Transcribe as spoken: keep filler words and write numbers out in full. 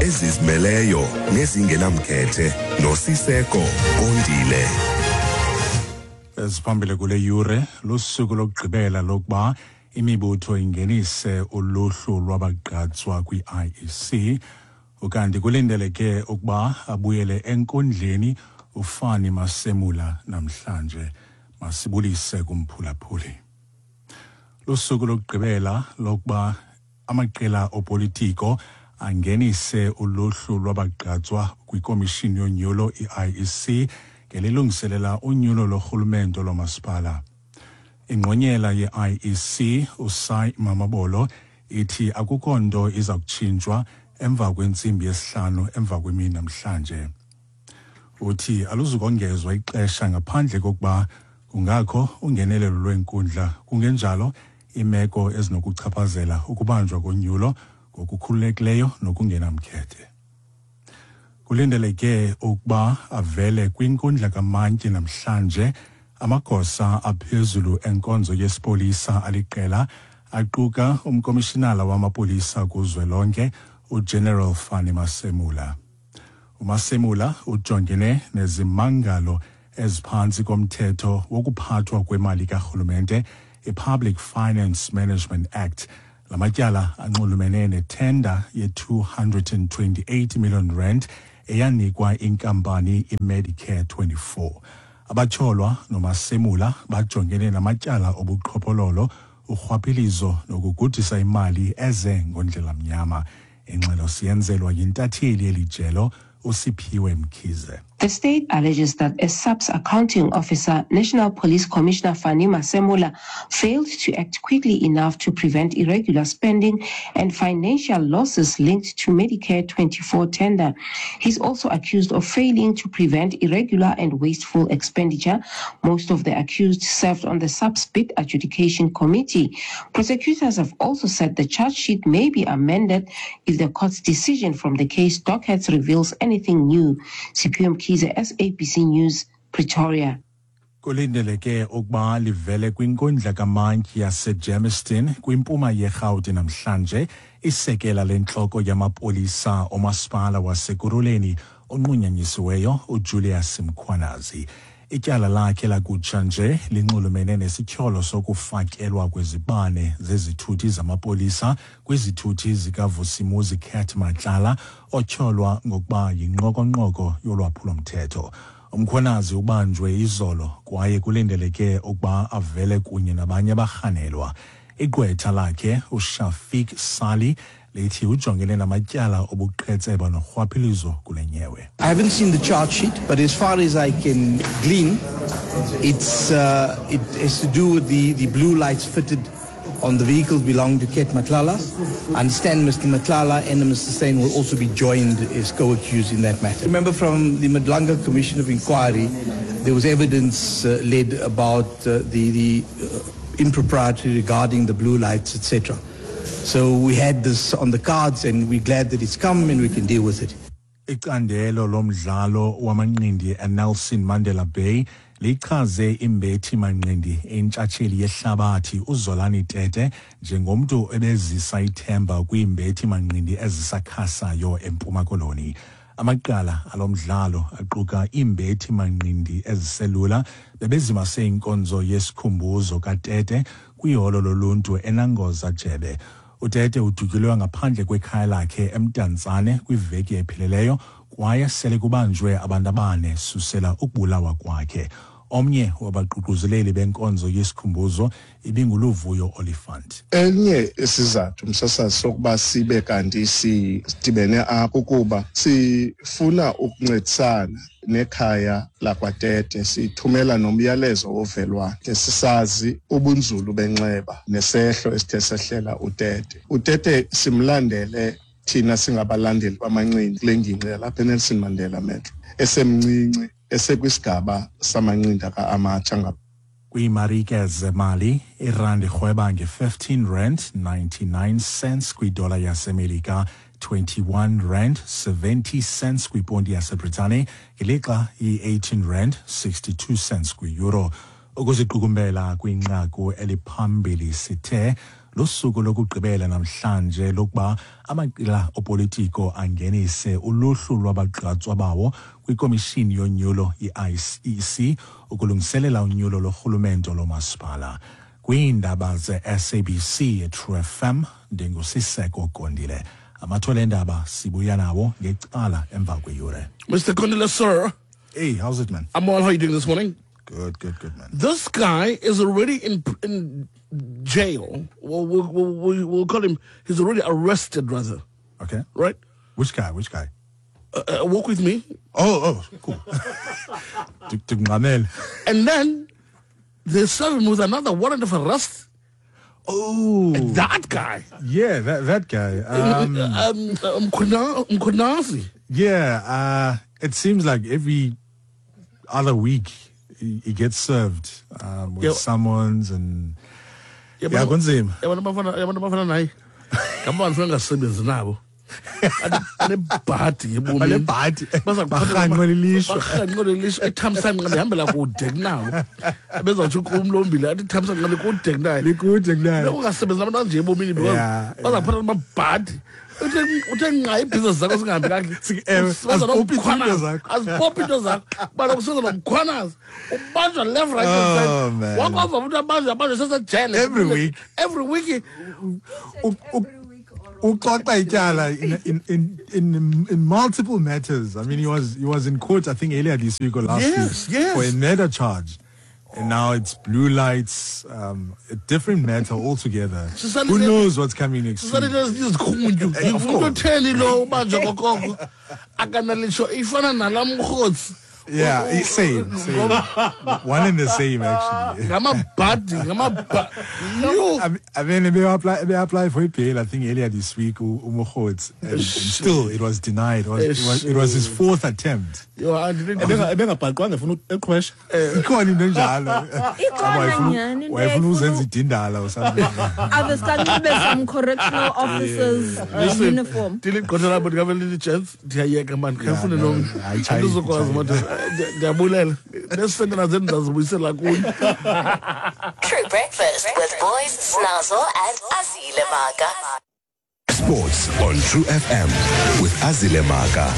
Ezizimeleyo nezingenamkhethe noSiseko Kondile. Eziphambili kule yure: lusuku lokugqibela lokuba imibutho ingenise uluhlu lwabagqatswa kwi-I E C. Ukanti kulindeleke ukuba abuyele enkundleni uFani Masemula namhlanje. Masibulise kumphulaphuli. Lusuku lokugqibela lokuba amaqela opolitiko angenise uluhlu lwabagqatswa kwikomishini yonyulo i-I E C ngelilungiselela unyulo lorhulumento lomasipala. Ingqonyela ye-I E C uSy Mamabolo ithi akukho nto iza kutshintshwa emva kwentsimbi yesihlanu emva kwemini namhlanje. Uthi aluzukongezwa ixesha ngaphandle kokuba kungakho ungenelelo lwenkundla, kungenjalo imeko ezinokuchaphazela ukubanjwa konyulo ngokukhululekileyo nokungenamkhethe. Kulindeleke ukuba avele kwinkundla kamantyi namhlanje amagosa aphezulu enkonzo yesipolisa aliqela, aquka umkomishinala wamapolisa kuzwelonke uGeneral Fani Masemula. UMasemula ujongene nezimangalo eziphantsi komthetho wokuphathwa kwemali karhulumente, i-Public Finance Management Act. La matyala anxulumene nethenda ye-two hundred and twenty-eight million rand eyanikwa inkampani iMedicare twenty-four. Abatyholwa noMasemula bajongene namatyala obuqhophololo, urhwaphilizo nokugudisa imali eze ngondlela mnyama. Ingxelo siyenzelwa yintatheli yelijelo uSiphiwe Mkhize. The state alleges that a SAPS accounting officer, National Police Commissioner Fani Masemola, failed to act quickly enough to prevent irregular spending and financial losses linked to Medicare twenty-four tender. He's also accused of failing to prevent irregular and wasteful expenditure. Most of the accused served on the SAPS bid adjudication committee. Prosecutors have also said the charge sheet may be amended if the court's decision from the case dockets reveals anything new. Siphiwe Mkhize, S A B C News, Pretoria. Kulindeleke ukuba livele kwinkundla kamantyi yaseGermiston kwimpuma yeRhawuti namhlanje isekela lentloko yamapolisa omasipala waseKurhuleni onqunyanyisiweyo uJulius Mkhwanazi. Ityala lakhe lakutsha nje linxulumene nesityholo sokufakelwa kwezibane zezithuthi zamapolisa kwizithuthi zikaVusimuzi Cat Matlala, otyholwa ngokuba yinqokonqoko yolwaphulo-mthetho. UMkhwanazi ubanjwe izolo kwaye kulindeleke ukuba avele kunye nabanye abarhanelwa. Igqwetha lakhe uShafiq Sali lithi ujongene namatyala obuqhetseba norhwaphilizo kule nyewe. I haven't seen the charge sheet, but as far as I can glean, it's, uh, it has to do with the, the blue lights fitted on the vehicles belonging to Cat Matlala. I understand Mister Matlala and Mister Steyn will also be joined as co-accused in that matter. Remember, from the Madlanga Commission of Inquiry, there was evidence uh, led about uh, the, the uh, impropriety regarding the blue lights, et cetera. So we had this on the cards and we're glad that it's come and we can deal with it. Icandelo lomdlalo wamanqindi eNelson Mandela Bay lichaze imbethi manqindi entshatsheli yehlabathi uZolani Tete njengomntu ebezisa ithemba kwiimbethi manqindi ezisakhasayo eMpuma Koloni. Amaqala alomdlalo aquka iimbethi manqindi eziselula bebezimase inkonzo yesikhumbuzo kaTete kwiholo loluntu eNangoza Jebe. UTete udutyulwe ngaphandle kwekhaya lakhe eMdantsane kwiveki epheleleyo kwaye sele kubanjwe abantu abane susela ukubulawa kwakhe. Omnye wabaququzeleli benkonzo yesikhumbuzo ibinguLuvuyo Oliphant. Enye isizathu, msasazi, sokuba sibe kanti sidibene apha kukuba sifuna ukuncedisana nekhaya lakwaTete, sithumela nomyalezo wovelwano, sisazi ubunzulu benxeba nesehlo esithe sehlela uTete. UTete simlandele thina singabalandeli bamanqindi kule ngingqi yalapha eNelson Mandela Metro esemncinci, esekwisigaba samanqindi aka-amateur. Kwiimarike zemali, irandi irhweba nge-fifteen rand ninety-nine cents kwidola yaseMelika, twenty-one rand seventy cents kwiponti yaseBritane, ngelixa i-eighteen rand sixty-two cents kwi-euro. Ukuziqukumbela kwinqaku eliphambili sithe Lusuku lokugqibela namhlanje lokuba amaqela opolitiko angenise uluhlu lwabagqatswa bawo kwikomishini yonyulo i-I E C ukulungiselela unyulo lorhulumento lomasipala. Kwiindaba ze-S A B C True F M ndinguSiseko Kondile. Amathole endaba sibuya nawo ngecala emva kweyure. Mister Kondile, sir. Hey, how's it, man? I'm well. How are you doing this morning? Good, good, good, man. This guy is already in in jail. We'll, we'll, we'll, we'll call him, he's already arrested, rather. Okay. Right? Which guy? Which guy? Uh, uh, walk with me. Oh, oh, cool. And then they serve him with another warrant of arrest. Oh. That guy. Yeah, that, that guy. Um, um, um, Mkhwanazi. Yeah, uh, it seems like every other week he, he gets served um, with yeah. summons and... Yeah, kunzima. Abantu abafana abantu abafana naye. Ngabantu angasebenzi nabo. Anebhadi ebomini. Anebhadi. Barhanqwe lilishwa. Barhanqwe lilishwa. Ethamsanqa ndihambela kude kunabo. Bezawutsho kumlombile athi thamsanqa likude kunaye. Likude kunaye. Ungasebenzi nabantu abanje ebomini because bazaphatha amabhadi. Uthe uthe nqa ibhizinesi zakho singahambi kakuhle. Azipophi into zakho. Bana kusenza noMkhwanazi. Ubanjwa left, right and center. Wakwava umuntu abanjwa abanjwa sesejele. Every week. Every week. Uxoxa ityala in in in in in multiple matters. I mean, he was he was in court, I think, earlier this week or last yes, week yes. for a murder charge. And now it's blue lights, um, a different matter altogether. Who knows what's coming next week? Of course. Yeah, same, same. One and the same, actually. I mean, they apply, they apply for bail, I think, earlier this week, and, and still it was denied. It was, it was, it was his fourth attempt. Or something. Some correctional officers uh, uniform. True Breakfast with Boys, Snazzle and Azile Maka. Sports on True F M with Azile Maka.